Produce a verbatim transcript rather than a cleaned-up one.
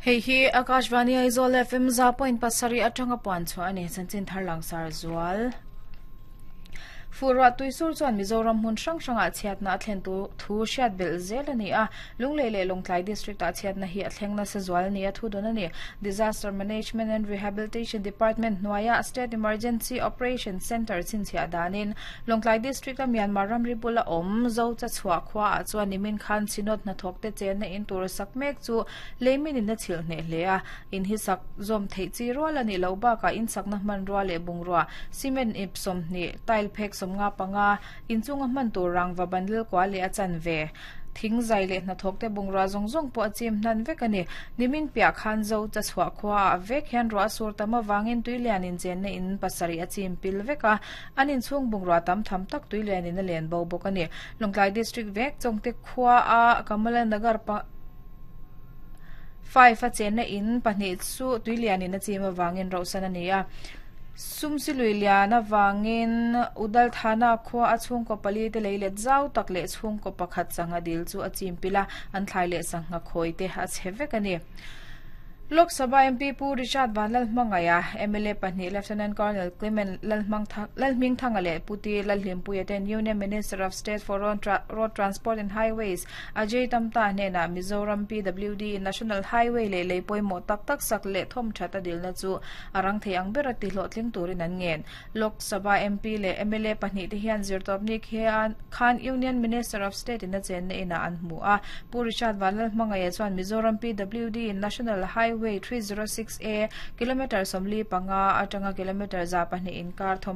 Hei hi Akashvani Aizawl F M za point pasarih atanga puan chhuah a ni. Chanchin thar langsar zual. Furwa tuisur chuan Mizoram hmun hrang hrangah chhiatna a thlen tu thu hriat belh zel a ni a. Lunglei leh Lawngtlai district ah chhiatna hi a thleng nasa zual ni a thu dawn a ni. Disaster Management and Rehabilitation Department hnuaia State Emergency Operation Centre chhinchhiah danin Lawngtlai district a Myanmar ramri bula awm zo cha chhuah khua ah chuan nimin khan Synod hnathawk te chenna in tur sak mek chu leimin in a chhilh hneh hle a. In hi sak zawm theih chi rual a nih loh bakah in sakna hmanrua leh bungrua, cement ip sawmhnih, tile phek sawmnga panga, inchunga hman tur rangva bundle kua leh a chanve, thing zai leh hnathawk te bungrua zawng zawng pawh a chim hnan vek a ni. Nimin piah khan zo cha chhuah khua ah vek hian ruah sur tam awangin tuilian in chenna in pasarih a chim pil vek a, an inchhung bungrua tam tham tak tuilian in a len bo bawk a ni. Lawngtlai district vek Chawngte khua a Kamala Nagar pa five a chenna in pahnih chu tuilian in a chim awangin rohsan a ni a. Sumsi lui lian awangin Udal Thana khua a chhungkaw pali te leilet zau tak leh chhungkaw pakhat sangha dil chu a chim pil a, an thlai leh sangha khawi te a chhe vek a ni. Lok Sabha M P Pu Richard Vanlalhmangaiha, M L A pahnih Lieutenant Colonel Clement Lalhmingthanga leh Puti Lalhlimpuia ten Union Minister of State for Road Transport and Highways Ajay Tamta hnenah Mizoram P W D National Highway leh lei pawimawh tak tak sak leh thawm that a dilna chu a rang thei ang ber a ti hlawhtling turin an ngen. Lok Sabha M P leh M L A pahnih te hian zirtawpni khan Union Minister of State in a chenna inah an hmu a. Pu Richard Vanlalhmangaiha chuan Mizoram P W D National Highway three zero six A kilometer sawmli panga atanga kilometer za pahnih inkar thawm